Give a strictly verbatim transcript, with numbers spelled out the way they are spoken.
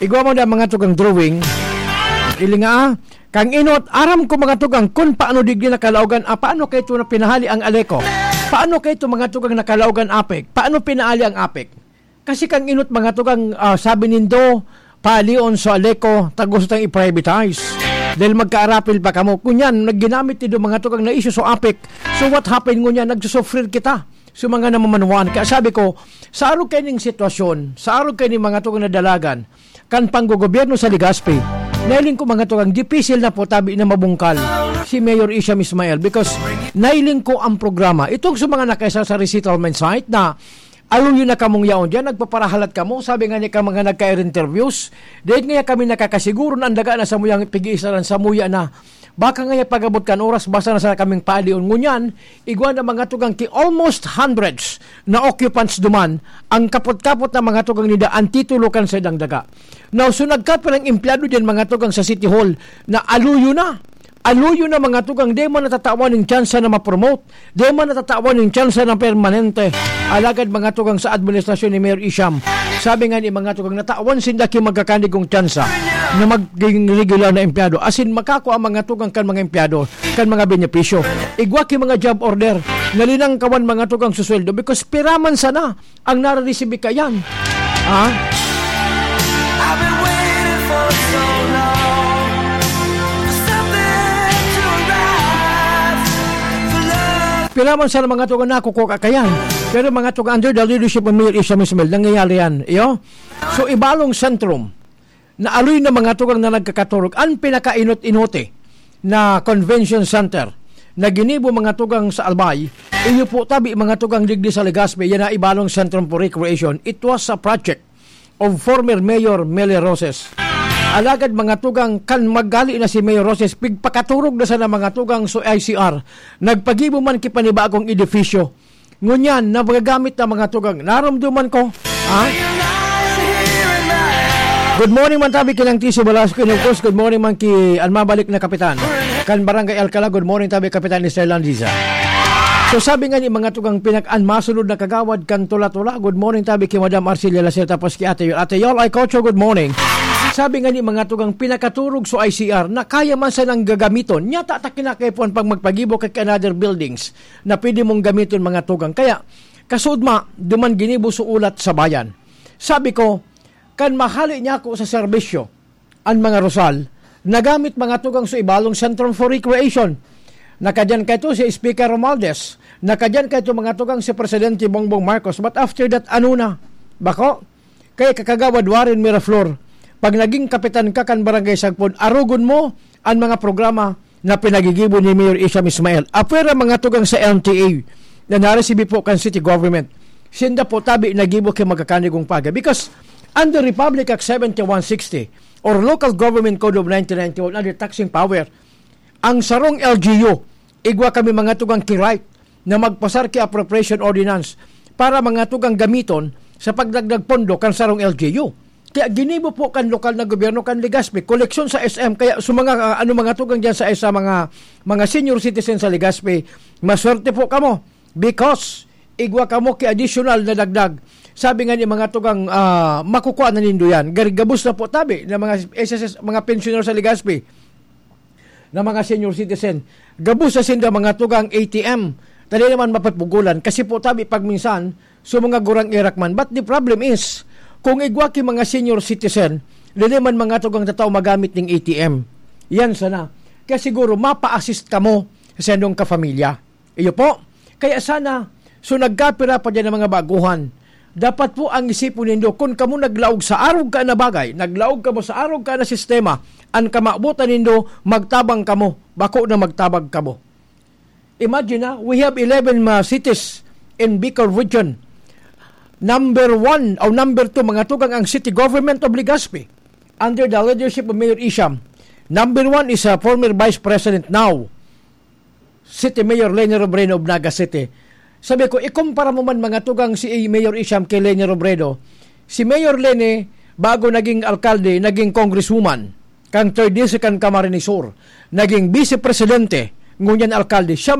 Igwa mo na mga tugang drawing. Ili nga, ah, kang inot, aram ko mga tugang kun paano digdi nakalaogan, ah, paano kayo ito na pinahali ang Aleco? Paano kayo ito mga tugang nakalaogan APEC? Paano pinahali ang APEC? Kasi kang inot mga tugang, ah, sabi nindo, palion sa Aleco, tagos tang i-privatize. Dahil magkaarapil pa kamo. Kunyan, nagginamit nindo mga tugang na issue sa APEC. So what happened ngunyan? Nagsusufrir kita sa mga namamanwaan. Kaya sabi ko, sa arog kayo ning sitwasyon, sa arog kayo ning mga tugang na dalagan, kan panggogobyerno sa Legazpi, nailing ko mga tugang, dipisil na po tabi na mabungkal si Mayor Isham Ismail because nailing ko ang programa. Itong sa mga nakaisa sa resettlement site na aluyo na kamong yaon diyan, nagpaparahalat kamo, sabi nga ni ka mga nagka-interviews, dahil nga kami nakakasiguro na ang daga na samuyang pig-iisaran, samuya na. Baka nga pag-abot kan oras, basta na sana kaming paalion. Ngunyan, igwa na mga tugang ki almost hundreds na occupants duman, ang kapot-kapot na mga tugang nida, ang titulo kan sa idang daga. Now, so nagkapirang empleyado din mga tugang sa City Hall na aluyo na. Aluyo na mga tugang, di man natatawan ng tsansa na ma-promote, di man natatawan ng tsansa na permanente. Alagad mga tugang sa administrasyon ni Mayor Isham, sabi nga ni mga tugang, natawan sinda ki magkakanigong tsansa na maging regular na empleyado. Asin makakua ang mga tugang kan mga empleyado, kan mga benepisyo. Igwa ki mga job order, nalinangkawan mga tugang susweldo because piraman sana ang nararesibi kayan. Ha? I've been waiting for so long for something to arrive. For love. Piraman sana mga tugang nakukuha kayan. Pero mga tugang under the leadership of Mayor Isham Ismail, nangyayari yan. Iyo? So, Ibalong Centrum, na aloy na mga tugang na nagkakaturog, ang pinakainot-inote na convention center na ginibo mga tugang sa Albay, iyo po tabi mga tugang digdi sa Legazpi, yan na Ibalong Centrum for Recreation. It was a project of former Mayor Mele Roses. Alagad mga tugang, kan maggali na si Mayor Roses, pigpakaturog na sana mga tugang so I C R. Nagpagibo man ki panibagong edifisyo. Ngunyan, na magagamit na mga tugang. Narumduman ko. Ha? Good morning man tabi kinang Tiso Velasco. And of course, good morning man ki an mabalik na kapitan. Kan Barangay Alcala, good morning tabi Kapitan Israel Landiza. So sabi nga ni mga tugang pinak-an masunod na kagawad kan Tula-Tula. Good morning tabi ki Madam Arcelia Lasir tapos ki Ate Yol. Ate Yol, ay Kocho, good morning. Sabi nga ni mga tugang pinakaturog so I C R na kaya man sanang gagamiton. Nyata ta kinakaipuhan pag magpagibo kay another buildings na pwede mong gamiton mga tugang. Kaya, kasudma, duman ginibo so ulat sa bayan. Sabi ko, kan mahali niya ako sa serbisyo, an mga Rosal, nagamit mga tugang sa Ibalong Centrum for Recreation. Nakadyan kaito si Speaker Romualdez. Nakadyan kaito mga tugang si Presidente Bongbong Marcos. But after that, ano na? Bako? Kay Kakagawad Warren Miraflor, pag naging kapitan ka kan Barangay Sagpon, arogon mo an mga programa na pinagigibo ni Mayor Isham Ismail. Apwera mga tugang sa L T A na naresibi po kan city government, sinda po tabi nagibo ki magkakanigong paga. Because under Republic Act seventy-one sixty or Local Government Code of nineteen ninety-one, under taxing power, ang sarong L G U, igwa kami mga tugang ki right na magpasar ki appropriation ordinance para mga tugang gamiton sa pagdagdag pondo kan sarong L G U. Kaya ginibo po kan lokal na gobyerno kan Legazpi, koleksyon sa S M. Kaya sa mga, ah, ano, mga tugang diyan sa, sa mga, mga senior citizen sa Legazpi, maswerte po kamo because igwa kamo ki additional na dagdag. Sabi nga ni mga tugang, ah, makukuha na nindo yan. Gar-, gabos na po tabi na mga S S S, mga pensioner sa Legazpi na mga senior citizen. Gabos na sinda mga tugang A T M. Dali naman mapapugulan. Kasi po tabi pag minsan, so mga gurang irak man. But the problem is, kung igwa ki mga senior citizen, dali man mga tugang tatao magamit ning A T M. Yan sana. Kaya siguro mapa-assist kamo sa inyong kapamilya. Iyo po. Kaya sana, so nagkapira pa diyan ang mga baguhan. Dapat po ang isipon nindo, kung kamo naglaog sa arog ka na bagay, naglaog kamo sa arog ka na sistema, ang kamabutan nindo, magtabang kamo, bako na magtabang kamo. Imagine na, we have eleven, uh, cities in Bicol region. Number one o number two, mga tugang, ang city government of Legazpi under the leadership of Mayor Isham. Number one is, uh, former Vice President, now City Mayor Leni Robredo of Naga City. Sabi ko, ikumpara mo man mga tugang si Mayor Isham kay Leni Robredo. Si Mayor Leni, bago naging alkalde, naging congresswoman kang third District kan Camarines Sur. Naging vice presidente, ngunyan alkalde. Siya